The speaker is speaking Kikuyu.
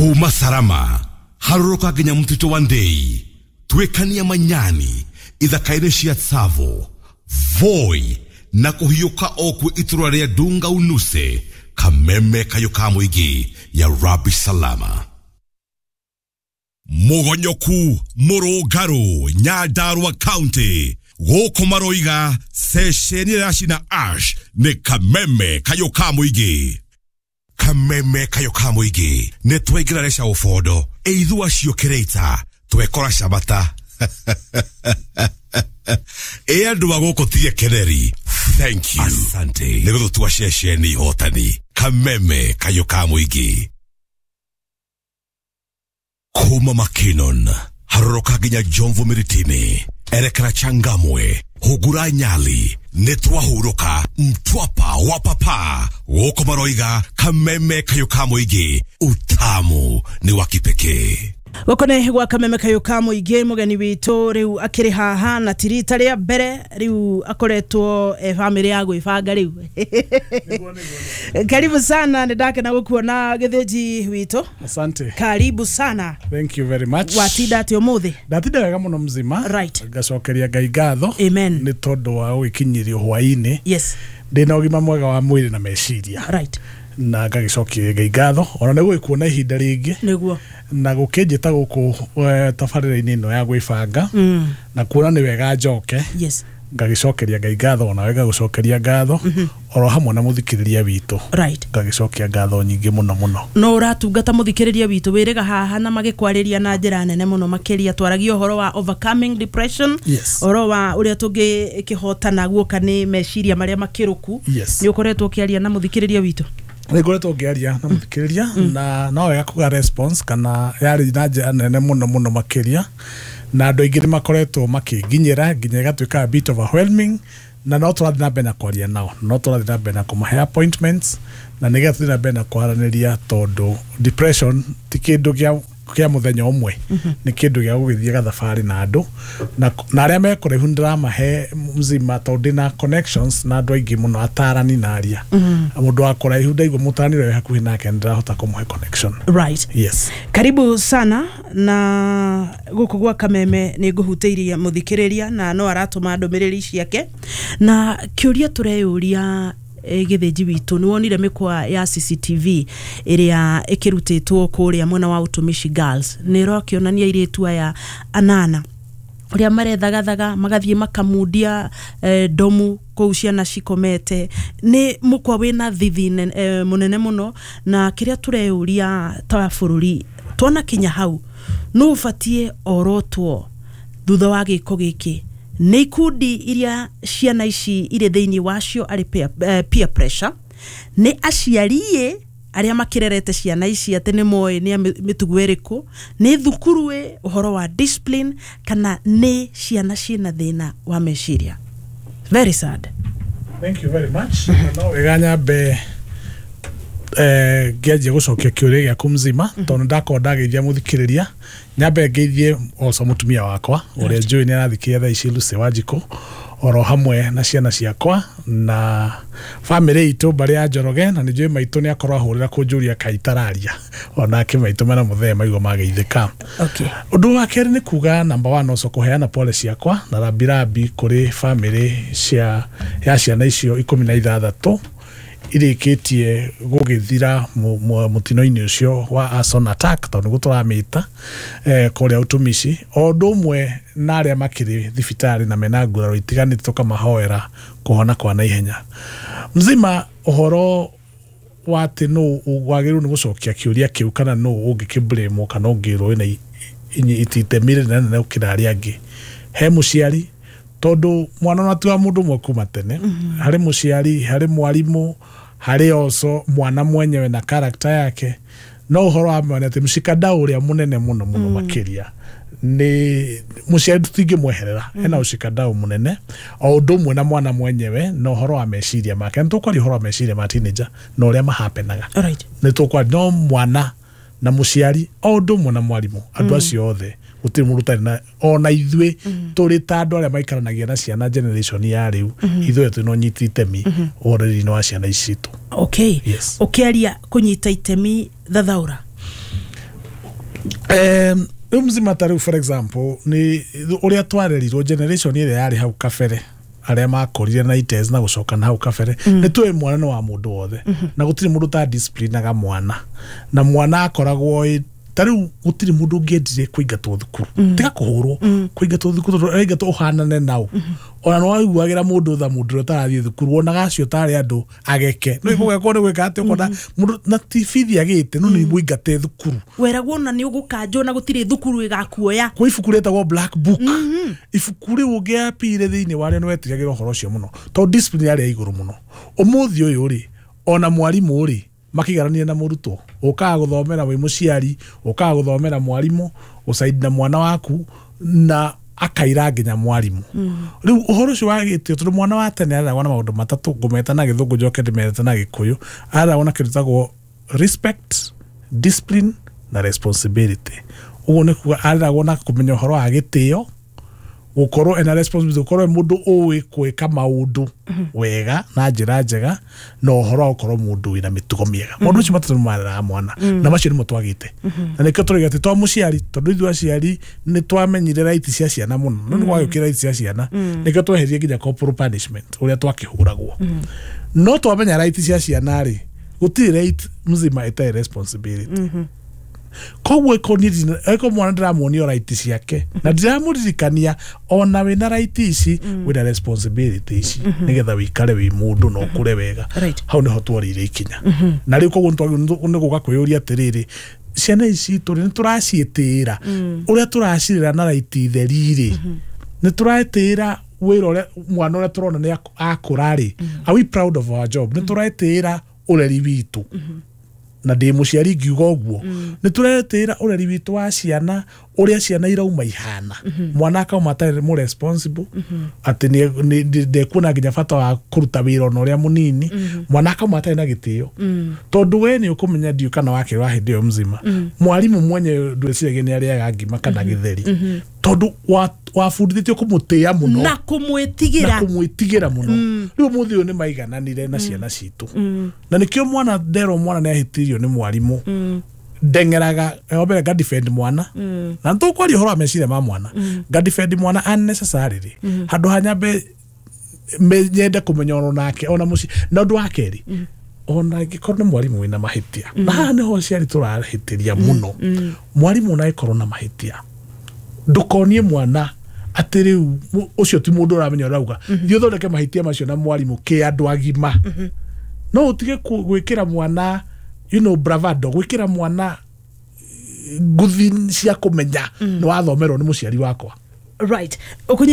Kuma Salama harũrũka nginya mũtitũ wa Ndei, twĩkania Manyani, ithaka-inĩ cia Tsavo, Voi na kũhiũka o kwĩ itũra rĩa Dunga Unuse, Kameme kayũ ka mũingĩ ya Rabi Salama. Mũgonyoku Mũrũngarũ, Nyandarua County, gũkũ maroiga ceceni ĩrĩa cina ash nĩ Kameme kayũ ka mũingĩ. Kameme kayũ ka mũingĩ nĩ twaingĩra reca ũbondo ĩithua ciũkĩrĩta twekora cabata. Ĩ andũ a gũkũ tie keneri, thank you, asante nĩ gũtũtua ceceni hotani. Kameme kayũ ka mũingĩ. Kuma Makinon harũrũka nginya Jomvu Miritini, erekera Changamwe, hungura Nyali, nĩ twahurũka Mtwapa wa papa. Gũkũ maroiga Kameme kayũ ka mũingĩ, utamu nĩ wa kipekee. Gũkũ nĩ gwa Kameme kayũ ka mũingĩ. Mũgeni witũ rĩu akĩrĩ haha na ti rita rĩa mbere, rĩu akoretwo bamĩrĩ ya gwĩbanga rĩu. Karibu sana, nĩ ndakena gũkuona gĩthĩnji witũ. Asante. Karibu sana. Thank you very much. Watinda atĩa ũmũthĩ? Ndatinda wega mũno mzima. Ngacokeria Ngai ngatho. Amen. Nĩ tondũ wa gũgĩkinyĩrio hwaĩ-inĩ. Ndĩna ũgima mwega wa mwĩrĩ na meciria. Na ngagĩcokeria Ngai ngatho ona nĩ gũgĩkuona ihinda rĩngĩ. Nĩguo. Na gũkĩnjĩta gũkũ tabarĩra-inĩ ĩno ya gwĩbanga. Na kuona nĩ wega njoke. Ngagĩcokeria Ngai ngatho, onawe ngagũcokeria ngatho, oro hamwe na mũthikĩrĩria witũ. Ngagĩcokia ngatho nyingĩ mũno mũno. No ũratungata mũthikĩrĩria witũ wĩrĩga haha na magĩkwarĩria na njĩra nene mũno makĩria. Twaragia ũhoro wa overcoming depression, ũhoro wa ũrĩa tũngĩkĩhotana guoka nĩ meciria marĩa makĩrũku. Nĩ ũkoretwo ũkĩaria na mũthikĩrĩria witũ? Nĩ ngoretwo ngĩaria na mũthikĩrĩria, na no wega kuga response kana yarĩ na njĩra nene mũno mũno makĩria, na andũ aingĩ nĩ makoretwo makĩnginyĩra nginya ĩgatuĩka a bit overwhelming, na no tũrathiĩ na mbere na kwaria nao, no tũrathiĩ na mbere na kũmahe appointments, na nĩgetha tũthiĩ na mbere na kwaranĩria, tondũ depression ti kĩndũ kĩa mũthenya ũmwe, nĩ kĩndũ gĩa gũgĩthiĩ gathabarĩ na andũ, na arĩa me kũraihu nĩndĩramahe mzima, tondũ ndĩna connections na andũ aingĩ mũno, atarani na aria. Mũndũ wa kũraihu ndaigua mũtarani ũrĩa wĩ hakuhĩ nake nĩndĩrahota kũmũhe connection. Karibu sana na gũkũ gwa Kameme nĩ ngũhutĩirie mũthikĩrĩria na no aratũma ndũmĩrĩri ciake, na kĩũria tũreyũria, gĩthĩnji witũ, nĩ wonire mĩkwa ya CCTV ĩrĩa ĩkĩrutĩtwo kũrĩa mwena wa Utumishi Girls, nĩ ĩrakĩonania airĩtu aya anana ũrĩa marethagathaga magathiĩ makamundia ndomu kũu ciana cikomete. Nĩ mũkwa wĩna thithi mũnene mũno, na kĩrĩa tũreyũria ta bũrũri, twona kinya hau nũ ũbatiĩ orotwo thutha wa gĩko gĩkĩ? Nĩ ikundi iria ciana ici irĩ thĩinĩ wacio arĩ peer pressure, nĩ aciari arĩa makĩrerete ciana ici atĩ nĩ moĩ nĩ mĩtugo ĩrĩkũ, nĩ thukuru ĩ ũhoro wa discipline, kana nĩ ciana ciĩna thĩna wa meciria? Very sad. Thank you very much. No wega nyambe ngĩanjia gũcokia kĩũria gĩaku mzima, tondũ ndakorwo ndageithia mũthikĩrĩria, nyambe ngeithie also mũtumia wakwa ũrĩa njũĩ nĩ arathikĩrĩria thaa ici, Lucy Wanjikũ, oro hamwe na ciana ciakwa na bamĩrĩ itũ, mbarĩ ya Njoroge, na nĩ njũĩ maitũ nĩ akorwo ahũrĩra kũnjũria kaĩ itararia, onake maitũ mena mũthee maigua mageithĩka. Ũndũ wa kerĩ nĩ kuga number one, also kũheana pole ciakwa na rambirambi kũrĩ bamĩrĩ cia ya ciana icio 16 irĩkĩtie gũgĩthira mũtino-inĩ ũcio wa arson attack, tondũ nĩguo tũramĩta, kũrĩa Utumishi, o ũndũ ũmwe na arĩa makĩrĩ thibitarĩ na mena nguraro itiganĩte, tũkamahoera kũhona kwa naihenya. Mzima, ũhoro wa atĩ nũ wagĩrĩirwo nĩ gũcokia kĩũria kĩu, kana nũ ũngĩkĩblame kana ũngĩrwo wĩna itemi rĩnene nene gũkĩra arĩa angĩ, he mũciari, tondũ mwana ona ti wa mũndũ ũmwe kuma tene. Harĩ mũciari, harĩ mwarimũ, harĩ also mwana mwenyewe na character yake. No ũhoro wa ma nĩ atĩ mũcikadau ũrĩa mũnene mũno mũno makĩria nĩ mũciari, tũtingĩmweherera, ena ũcikadau mũnene, o ũndũ ũmwe na mwana mwenyewe na ũhoro wa meciria make. Nĩ tũkwaria ũhoro wa meciria ma teenager na ũrĩa mahapenaga. Nĩ tũkwaria, no mwana na mũciari o ũndũ ũmwe na mwarimũ, andũ acio othe gũtirĩ mũndũ ũtarĩ na, ona ithuĩ tũrĩ ta andũ arĩa maikaranagia na ciana, generation ya rĩu, ithuĩ twĩna ũnyiti itemi ũhoro-inĩ wa ciana ici citũ. Ũkĩaria kũnyita itemi, thathaũra. Rĩu mzima ta rĩu, for example, nĩ ũrĩa twarerirwo, generation ĩrĩa yarĩ hau kabere, arĩa makorire na ites na gũcoka na hau kabere, nĩ tũĩ mwana nĩ wa mũndũ wothe na gũtirĩ mũndũ ta disciplinaga mwana, na mwana akoragwo ta rĩu gũtirĩ mũndũ ũngĩendire kũingatwo thukuru, tiga kũhũrwo, kũingatwo thukuru, tondũ ũraingatwo ũhanane nao. Ona nĩ waiguagĩra mũndũ tha, mũndũ ũrĩa ũtarathiĩ thukuru, wonaga acio tarĩ andũ ageke no igũgekwo nĩ gwĩka atĩ ũkona mũndũ na ti bithi agĩte no nĩ mũingate thukuru. Weragwo na nĩ ũgũkanjwo na gũtirĩ thukuru ĩgakuoya. Kwĩ ibuku rĩtagwo black book, ibuku rĩu ũngĩapire thĩinĩ warĩo nĩ wetigagĩra ũhoro ũcio mũno, tondũ discipline yarĩ ya igũrũ mũno. Ũmũthĩ ũyũ rĩ, ona mwarimũ rĩ, makĩiganania na mũrutwo, ũkaga gũthomera wĩ mũciari, ũkaga gũthomera mwarimũ gũcaidi na mwana waku na akaira nginya mwarimũ. Rĩu ũhoro ũcio wa gĩtĩo, tondũ mwana wa tene areragwo na maũndũ matatũ, ngũmeta na Gĩthũngũ njoke ndĩmete na Gĩkũyũ, areragwo na kĩndũ gĩtagwo respect, discipline na responsibility. Ũguo nĩ kuga areragwo na kũmenya ũhoro wa gĩtĩo, gũkorwo ena responsibility, gũkorwo e mũndũ ũĩ gwĩka maũndũ wega na njĩra njega, na ũhoro wa gũkorwo mũndũ wĩna mĩtugo mĩega. Maũndũ macio matatũ nĩ mareraga mwana, na macio nĩmo twagĩte, na nĩkĩo tũrauga atĩ to mũciari, tondũ ithuĩ aciari nĩ twamenyire right cia ciana mũno, no nĩ gwagĩũkire right cia ciana, nĩkĩo tweheririe nginya corporal punishment ũrĩa twakĩhũragwo. No twamenya right cia ciana rĩ, gũtirĩ right mzima ĩtarĩ responsibility. Koguo ĩko mwana ndĩramuonia right ciake na ndiramũririkania ona wĩna right ici, wĩna responsibility ici, nĩgetha wĩikare wĩ mũndũ na ũkũre wega. Hau nĩho tworĩire ikinya, na rĩu koguo nĩ gũka kwĩyũria atĩrĩrĩ, ciana ici citũ rĩ, nĩ tũraciĩtĩĩra ũrĩa tũracirera na right theri rĩ? Nĩ tũretĩĩra wĩra ũrĩa mwana ũrĩa tũrona nĩ akũra rĩ? Are we proud of our job? Nĩ tũretĩĩra ũreri witũ? Na ndĩ mũciari ngiuga ũguo, nĩ tũretĩĩra ũreri witũ wa ciana, ũrĩa ciana irauma ihana? Mwana akauma atarĩ mũ responsible, atĩ ndekuona nginya bata wa kũruta wĩra ona ũrĩa mũnini. Mwana akauma atarĩ na gĩtĩo, tondũ we nĩ ũkũmenya, ndiũ kana wakĩrwa hĩndĩ ĩyo mzima, mwarimũ mwenye ndwĩciragia nĩ arĩaga ngima kana gĩtheri, tondũ wabundithĩtio kũmũtĩĩa mũno na na kũmwĩtigĩra. Kũmwĩtigĩra mũno. Rĩu ũmũthĩ ũyũ nĩ maigananire na ciana citũ, na nĩkĩo mwana nderwo mwana nĩ ahĩtĩirio nĩ mwarimũ, ndeng'eraga wa mbere nga defend mwana, na nĩtũkwaria ũhoro wa meciria ma mwana, nga defend mwana unnecessarily, handũ ha nyambe nyende kũmenya ono nake ona mũciĩ. Na ũndũ wa kerĩ, ona angĩkorwo nĩ mwarimũ wĩna mahĩtia, na haha nĩho aciari tũrahĩtĩria mũno, mwarimũ ona angĩkorwo na mahĩtia, ndũkonie mwana atĩ rĩu ũcio ti mũndũ ũramenya ũrauga. Thiĩ ũthondeke mahĩtia macio na mwarimũ kĩ andũ agima. No ũtige gwĩkĩra mwana bravado, gwĩkĩra mwana nguthi cia kũmenya nĩ wathomerwo nĩ mũciari wakwa. Right, ũkũnyita.